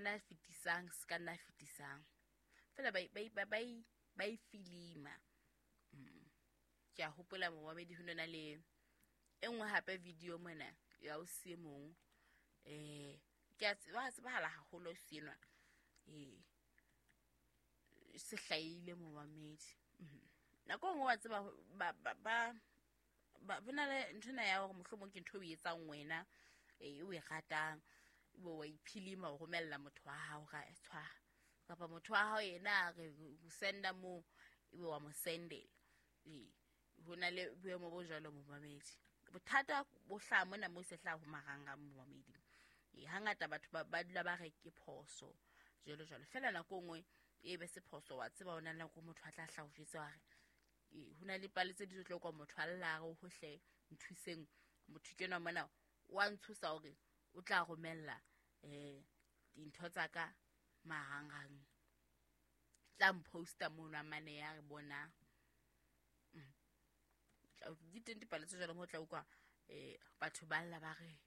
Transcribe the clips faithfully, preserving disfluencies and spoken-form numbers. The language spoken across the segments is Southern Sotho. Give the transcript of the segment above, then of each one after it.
nna fetisang, se ka nna fetisang. Fela ba ba ba ba ba e filima. Mm. Ke a hopola momamedi ho nona le e nngwe hape video mona ya o se mong. Eh ke a tseba tsebahala haholo senwa. Eh se hlahile momamedi. Nako e nngwe wa tseba ba ba ba ba bona le nthwena ya hore mohlomong ke ntho o e etsang wena e o e ratang, ebe wa iphilima o romella motho wa hao ra tshwara kapa motho wa hao yena a re o senda moo ebe wa mo sendela. Ee, ho na le boemo bo jwalo momamedi. Bothata bo hlaha mona mo se hlaha ho marangrang momamedi. Ee, hangata batho ba ba dula ba re ke phoso jwalo jwalo. Feela nako e nngwe e be se phoso wa tseba ho na le nako motho a tla hlaha o jwetsa wa re ho na le pale tse di tlo kwa motho a lla re hohle nthuseng motho ke enwa mona wa ntshosa hore o tla romella eh dintho tsa ka marangrang, tla mposta mono a mane ya re bona. Di teng dipale tse jwalo mo tla utlwa eh batho ba lla ba re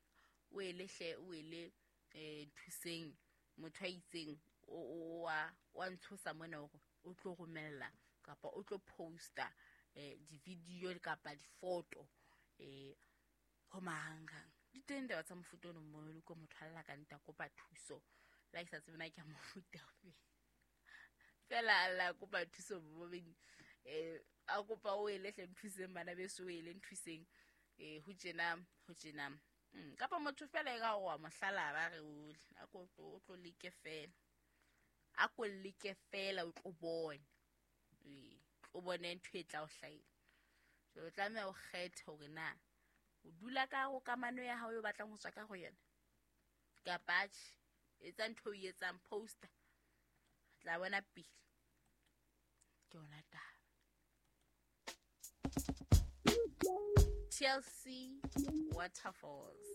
o ele hle o ele eh nthuseng motho a itseng o wa wa ntshosa mona hore o tlo romella kapa o tlo posta eh di-video kapa di-photo eh ho marangrang. Di teng taba tsa mofuta ono mo le ko motho a lla ka nta kopa thuso la ke sa tsebe na ke a mofuta ofe. Fela a lla kopa thuso momamedi eh a kopa o ele hle nthuseng bana beso o ele nthuseng eh ho tjena ho tjena. Kapa motho fela e ka wa mohlala ba re o a ko o tlo leke fela, a ko leke fela o tlo bone. Ee, o bone ntho e tla o hlahela. Jwale o tlameha o kgethe hore na o dula ka ho kamano ya hao eo batlang ho tswa ka ho yona kapa tjhe. Etsa ntho o e etsang, poster tla bona pele. Ke yona taba. T L C Waterfalls.